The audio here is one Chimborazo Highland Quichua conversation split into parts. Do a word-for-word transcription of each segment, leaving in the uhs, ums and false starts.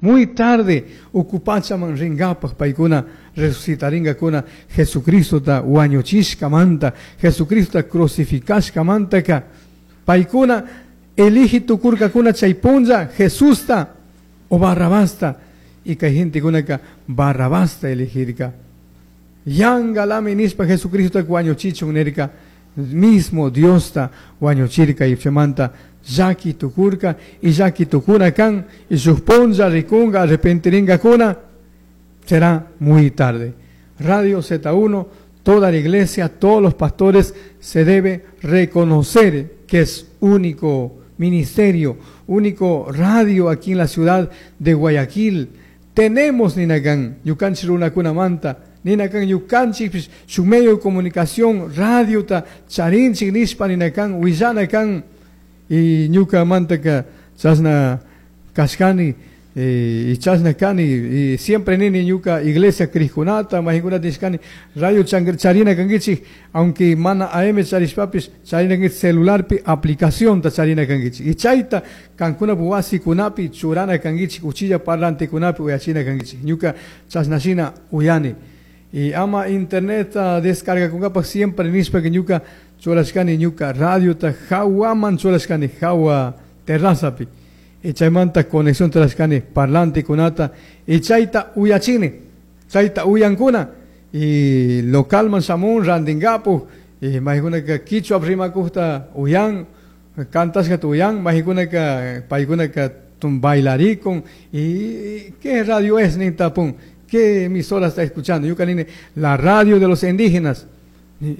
Muy tarde ucu pachaman ringapaj paicuna resucitaringacuna Jesucristota wañuchishcamanta, Jesucristota crucificashcamantaka paicuna eligi tucurcacuna chay punlla Jesusta o Barrabasta y kay gentekunaka Barrabasta elegirka. Yangalami nishpa Jesucristota wañuchichun nirka, mismo Diosta wañuchirka y chaymanta llaki tukurka y llaki tukuna kan y shuk punlla rikunga arrepentiringakuna será muy tarde. Radio Z uno, toda la iglesia, todos los pastores se debe reconocer que es único ministerio, único radio aquí en la ciudad de Guayaquil. Tenemos nina kan, ñukanchik runakunamanta, nina kan ñukanchik su medio de comunicación, radio ta charinchik nishpa nina kan, willana kan, y ñukamantaka chashna kashkani, eh, y chashna kani, y siempre nini ñuka iglesia crijkunata, mayjinkunata nishkani, radio charina kankichik, aunque mana A M charishpapish, charina kankichik celularpi aplicación ta charina kankichik. Y chayta kankuna wasikunapi churana kankichik, uchilla parlantekunapi uyachina kankichik. Ñuka chashna shina uyani. Y ama internet descarga kunkapaj siempre nishpa que ñuka churashkani ñuka radiota jawaman churashkani jawa terrazapi. Y chaymanta conexión churashkani parlantekunata y chayta uyachini, chayta uyankuna y localman shamun rantinkapuj y maykunaka kichwa rimakujta uyan, cantashkata uyan, maykunaka paykunaka tun bailarikun y ¿qué radio es? Nin tapun. ¿Qué emisora está escuchando? Ñuka nini, la radio de los indígenas.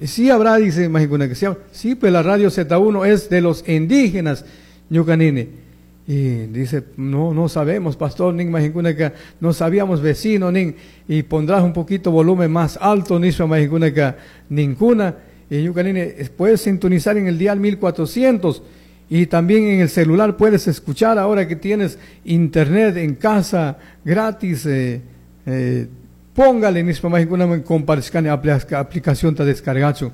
Sí habrá, dice mayjinkunaka, sí, sí, pues la radio Z uno es de los indígenas, ñuka nini. Y dice, no, no sabemos, pastor, nin mayjinkunaka, no sabíamos vecino, nin, y pondrás un poquito volumen más alto, nishpa mayjinkunaka, ninkuna. Y ñuka nini, puedes sintonizar en el dial mil cuatrocientos y también en el celular puedes escuchar ahora que tienes internet en casa gratis. Eh, eh, póngale nishpa mayjinkunaman compartishkani aplicación ta descargachu.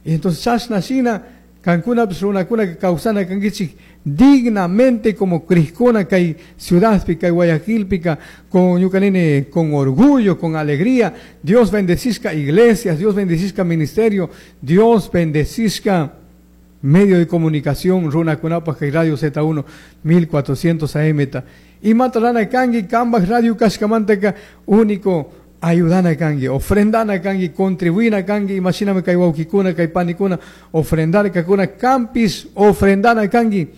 Y entonces chashna shina kankunapish runakuna kawsana kankichik dignamente como crijkuna kay ciudadpi kay Guayaquilpika con ñuka nini con orgullo, con alegría. Dios bendecishka iglesias, Dios bendecishka ministerio, Dios bendecishka medio de comunicación runakunapaj kay Radio Z uno mil cuatrocientos A M ta. Imata rurana kanki kambaj radio kashkamantaka único ayudana kanki, ofrendana kanki, contribuina kanki, imashinami kay wawkikuna, kay panikuna, ofrendarkakuna, kampish ofrendana kanki,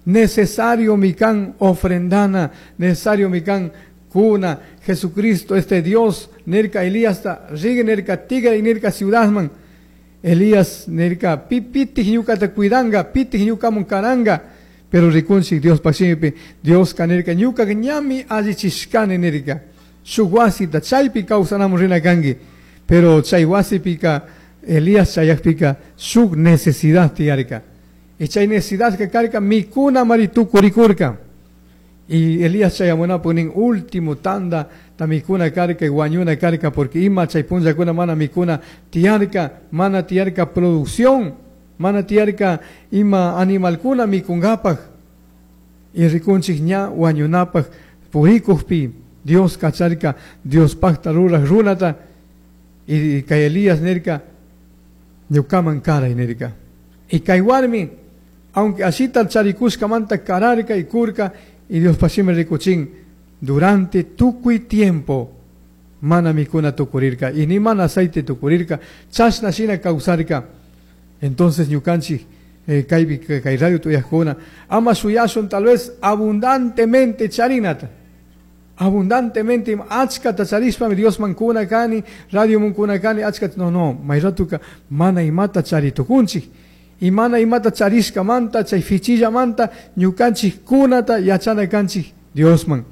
necesario mi kan ofrendana, necesario mi kan kuna, Jesucristo, este Dios, nirka Elías ta, rigue nirka tigra y nirka ciudadman, Elías nirka, pi pitij ñukata cuidanga, pitij ñukamun karanga, pero rikunchik Dios shimipi, Dios nirka ñuka ñami allichishkani nirka, shuk wasita chaypi kawsanamun rina kanki, pero chay wasipika Elías chayakpika shuk necesidad tiyarka y chay necesidad que karka mikuna mari tukurikurka y Elías chayamunapuk nin último tanda ta mikuna karka y wañuna karka porque ima chay punllakuna mana mikuna tiyarka, mana tiyarka producción, mana tiyarka ima animalkuna mikunkapaj y rikunchik ña wañunapaj purikujpi Dios kacharka Dios pajta ruraj runata y kay Elías nirka ñukaman karay nirka y kay warmi aunque ashita charikushkamanta kararka y kurka y Dios shimi rikuchin durante tukuy tiempo mana mikuna tukurirka y ni mana aceite tukurirka chashna shina kawsarka. Entonces ñukanchik eh, kaypi kay radio uyajkuna ama shuyashun tal vez abundantemente charinata, abundantemente achkata charishpami Diosman kuna kani, radioman kuna kani achkata. No, no, mayratuka mana imata charitukunchik y mana imata charishkamanta chay fichillamanta ñukanchik kunata yachana kanchik Diosman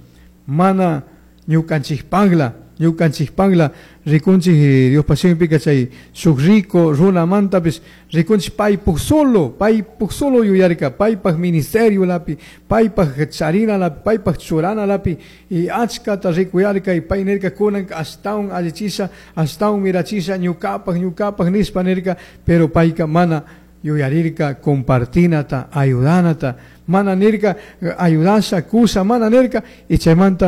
mana ñukanchikpakla ñukanchikpakla. Rikunchik Diospa shimipika chay shuk rico runamantapish rikunchik paypuk solo paypuk solo yuyarka paypak ministerio lapi paypak charina lapi paypak churana lapi y achkata rikuyarka y pay nirka kunanka ashtawan allichisha ashtawan mirachisha ñukapak ñukapak nishpa nirka, pero payka mana yuyarirka compartinata, ayudanata, mana nirka ayudasha kusha mana nirka y chaymanta.